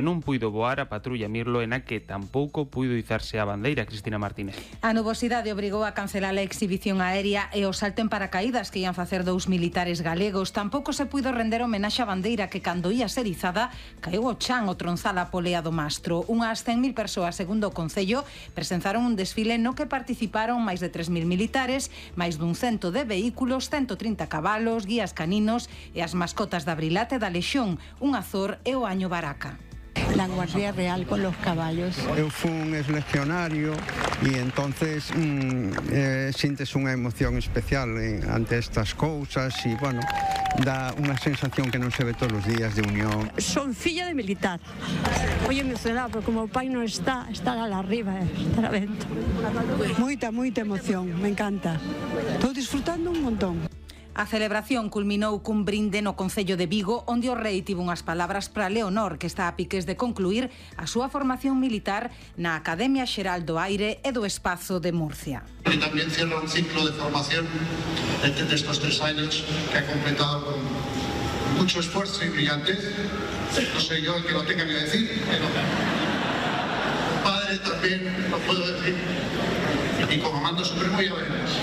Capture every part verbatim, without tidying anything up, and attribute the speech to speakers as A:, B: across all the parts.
A: Non puido voar a patrulla Mirlo e na que tampouco puido izarse a bandeira. Cristina Martínez.
B: A nubosidade obrigou a cancelar a exhibición aérea e o salto en paracaídas que ian facer dous militares galegos. Tampouco se puido render homenaxe á bandeira que, cando ia ser izada, caeu ao chan o tronzal a polea do mastro. Unhas cen mil persoas, segundo o Concello, presenzaron un desfile no que participaron máis de tres mil militares, máis dun cento de vehículos, ciento trinta cabalos, guías caninos e as mascotas da Brilate da Lexón, un Azor e o Año Baraca.
C: La Guardia Real con los caballos.
D: Eu fui un exlegionario e entonces mm, eh, sintes unha emoción especial eh, ante estas cousas e, bueno, dá unha sensación que non se ve todos os días de unión.
C: Son filla de militar. Oye, emocionada, porque como o pai non está, estar ala arriba, eh, estar a vento. Moita, moita emoción, me encanta. Estou disfrutando un montón.
B: A celebración culminou cun brinde no Concello de Vigo, onde o rei tivo unhas palabras para Leonor, que está a piques de concluir a súa formación militar na Academia Xeral do Aire e do Espazo de Murcia.
E: Y también cierra un ciclo de formación de estos tres años que ha completado con mucho esfuerzo y brillantez. No soy yo el que lo tenga que decir, pero padre también lo puedo decir. Y como mando supremo ya veremos.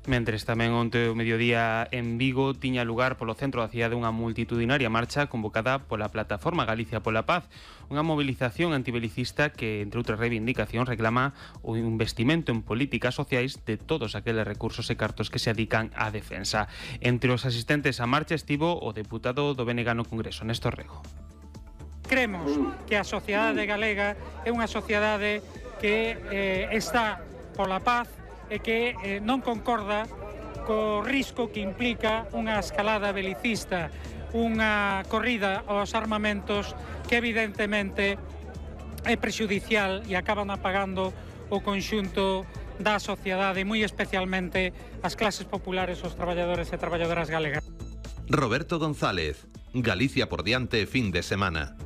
A: Mentres tamén onte o mediodía en Vigo tiña lugar polo centro da cidade unha multitudinaria marcha convocada pola Plataforma Galicia pola Paz, unha movilización antibelicista que, entre outras reivindicacións, reclama o investimento en políticas sociais de todos aqueles recursos e cartos que se adican á defensa. Entre os asistentes á marcha estivo o deputado do B N G no Congreso, Néstor Rego.
F: Cremos que a sociedade galega é unha sociedade que eh, está pola paz e que eh, non concorda co risco que implica unha escalada belicista, unha corrida aos armamentos que evidentemente é prexudicial e acaban apagando o conxunto da sociedade, moi especialmente as clases populares, os traballadores e traballadoras galegas.
G: Roberto González, Galicia por diante fin de semana.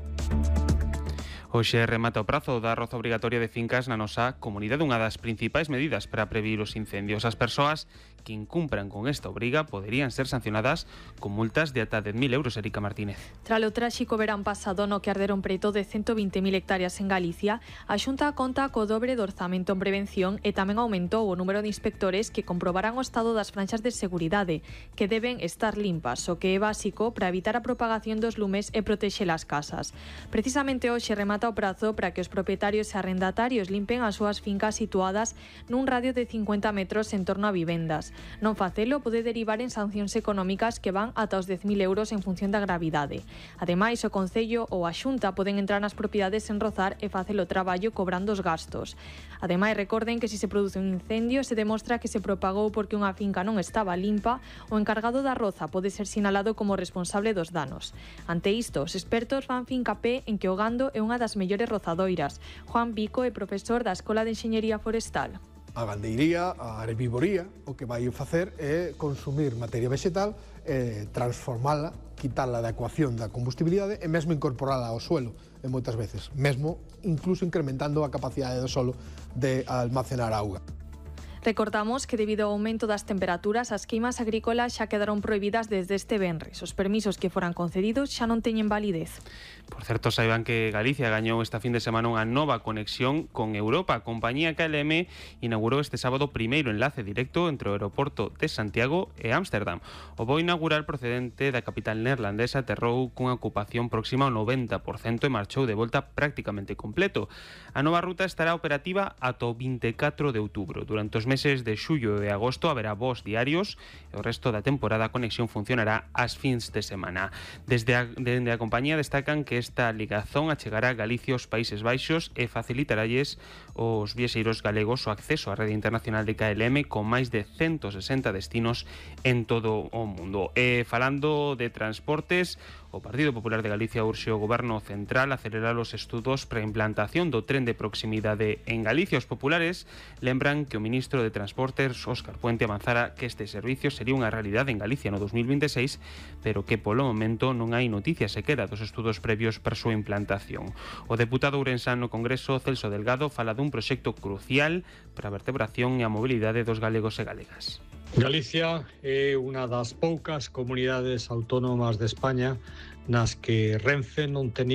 A: Hoxe remata o prazo da roza obrigatoria de fincas na nosa comunidade, unha das principais medidas para prevenir os incendios. As persoas que incumpran con esta obriga poderían ser sancionadas con multas de ata dez mil euros, Erika Martínez.
H: Tras o tráxico verán pasado no que arderon preto de ciento vinte mil hectáreas en Galicia, a Xunta conta co dobre do orzamento en prevención e tamén aumentou o número de inspectores que comprobarán o estado das franxas de seguridade, que deben estar limpas, o que é básico para evitar a propagación dos lumes e protexer as casas. Precisamente hoxe remata o prazo para que os propietarios e arrendatarios limpen as súas fincas situadas nun radio de cincuenta metros en torno a vivendas. Non facelo pode derivar en sancións económicas que van ata os dez mil euros en función da gravidade. Ademais, o Concello ou a Xunta poden entrar nas propiedades sen rozar e facer o traballo cobrando os gastos. Ademais, recorden que se se produce un incendio se demostra que se propagou porque unha finca non estaba limpa, o encargado da roza pode ser sinalado como responsable dos danos. Ante isto, os expertos fan fincapé en que o gando é unha das mellores rozadoiras. Juan Vico é profesor da Escola de Enxeñería Forestal.
I: A gandeiría, a herbivoría, o que vai facer é consumir materia vegetal, eh, transformala, quitala da ecuación da combustibilidade e mesmo incorporala ao suelo, e moitas veces, mesmo incluso incrementando a capacidade do solo de almacenar auga.
H: Recordamos que debido ao aumento das temperaturas, as queimas agrícolas xa quedaron prohibidas desde este venres. Os permisos que foran concedidos xa non teñen validez.
A: Por certo, saiban que Galicia gañou esta fin de semana unha nova conexión con Europa. A compañía K L M inaugurou este sábado o primeiro enlace directo entre o aeroporto de Santiago e Ámsterdam. O voo inaugural procedente da capital neerlandesa aterrou cunha ocupación próxima ao noventa por cento e marchou de volta prácticamente completo. A nova ruta estará operativa ata o vinte e catro de outubro. Durante os meses de xullo e agosto haberá voos diarios e o resto da temporada a conexión funcionará ás fins de semana. Desde a, desde a compañía destacan que esta ligazón achegará a Galicia aos Países Baixos e facilitaralles os viaxeiros galegos o acceso á rede internacional de K L M con máis de ciento sesenta destinos en todo o mundo. E falando de transportes, o Partido Popular de Galicia urxe o Goberno Central a acelerar os estudos para a implantación do tren de proximidade en Galicia. Os populares lembran que o ministro de Transportes, Óscar Puente, avanzara que este servicio sería unha realidade en Galicia no dos mil vinte e seis, pero que polo momento non hai noticias sequera dos estudos previos para a súa implantación. O deputado ourensán no Congreso, Celso Delgado, fala dun proxecto crucial para a vertebración e a mobilidade dos galegos e galegas.
J: Galicia é unha das poucas comunidades autónomas de España nas que Renfe non ten